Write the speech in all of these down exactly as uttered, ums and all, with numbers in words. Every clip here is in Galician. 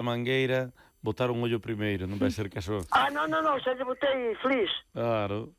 a mangueira, botar un ollo primeiro, non vai ser caso. Ah, non, non, non, xa lle botei flis. Claro.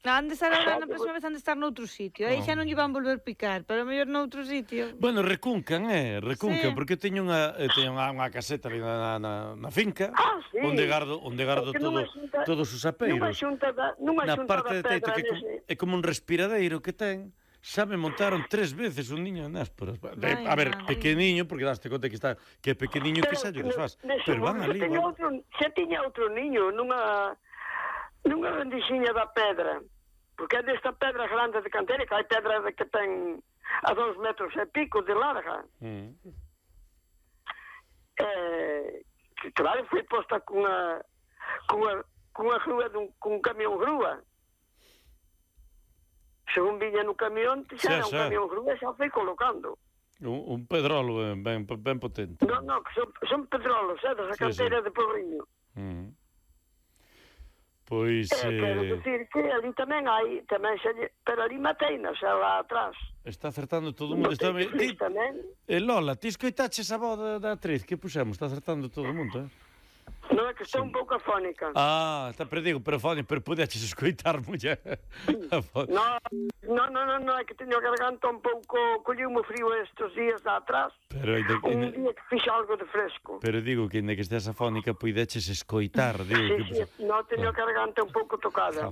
Han de estar agora na próxima vez, han de estar noutro sitio. Aí xa non lle van volver picar, pero mellor noutro sitio. Bueno, recuncan, eh, recuncan, Sí. porque teño unha eh, teño unha, unha caseta ali na, na, na finca, Ah, sí. onde gardo, onde gardo Porque todo, nunha xunta- todos os apeiros. Nunha xunta da, nunha Na xunta parte da de teito, pedra que é, como, nese. é como un respiradeiro que ten. Xa me montaron tres veces un niño en Násporas. De, Vai, a ver, vai. pequeniño, porque daste conta que está que é pequeniño que xa lle desfaz. nese Pero van momento ali, tiña van. outro, xa tiña outro niño nunha nunha rendixiña da pedra. Porque é desta pedra grande de canteira, que hai pedra de que ten a dos metros e pico de larga. Mm. Eh, que claro, foi posta cunha cunha, cunha grúa dun, cun camión grúa. Según viña no camión, xa Xa, era un xa. camión grúa, xa foi colocando. Un, un pedrolo ben, ben, ben potente. Non, non, que son, son pedrolos, eh, da Sí, canteira de Porriño. Mm. Pois... Eh, quero Eh, dicir que ali tamén hai, tamén xa, lle- pero ali mateinas, xa lá atrás. está acertando todo o mundo. Está... Botei Ti, flis tamén. eh, Lola, ti escoitaches a voz da, da atriz que puxemos? Está acertando todo o mundo, eh? Non é que estou un pouco afónica. Ah, está, pero digo, pero Foni, pero pudeches escoitar, muller. A voz. Non, non, non, non, non, é que teño a garganta un pouco, colleu-me frío estes días de atrás. Pero, ainda, Un ainda, día que fixe algo de fresco. pero digo que ainda que estés afónica pudeches escoitar, digo Sí, que... sí, non, teño a garganta un pouco tocada.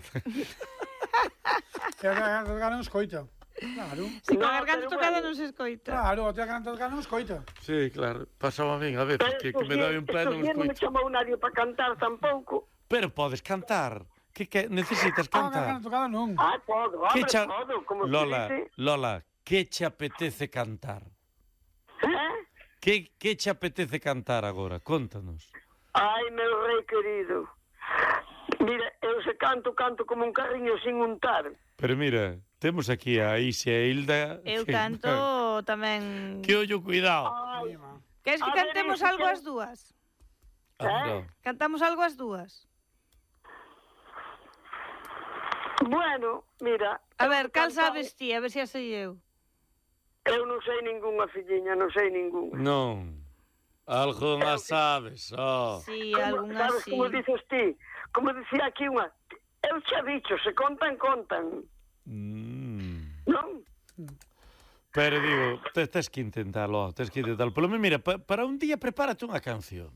E a garganta non escoita. Claro. Se con No, a garganta pero tocada bueno. non se escoita. Claro, a garganta tocada non escoita. Sí, claro, pasaba a min a veces, que, que me daba un pleno estos días non me escoito. chamou nadie para cantar tampouco. Pero podes cantar. Que, que necesitas Ah, a cantar? garganta tocada non. Ah, podo, Que hombre, cha... podo, como Lola, se dice. Lola, que che apetece cantar? Eh? Que, que che apetece cantar agora? Contanos. Ai, meu rei querido. Mira, eu se canto, canto como un carriño sin untar. Pero mira, temos aquí a Isia e Hilda. Eu que- canto tamén... Que ollo, cuidado. Ai, Queres que A ver, cantemos ese algo que- as dúas? Ah, no. Cantamos algo as dúas? bueno, mira. A eu ver, cal cantaba- sabes ti? A ver se a sei eu. Eu non sei ningunha, filliña, non sei ningunha. Non. Algo máis sabes, oh. Si, Como- algunha sabes si. como dices ti? Como dicía aquí unha... Eu xa dicho, se contan, contan. Mm. Non? Pero digo, te, tes que intentalo, tes que intentalo. Polo menos, mira, pa, para un día prepárate unha canción.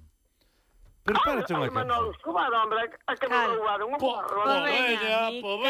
Prepárate unha Manolo, canción. como hombre, a que me Claro. roubaron un Po, barro. po, veña, veña, mi po, veña.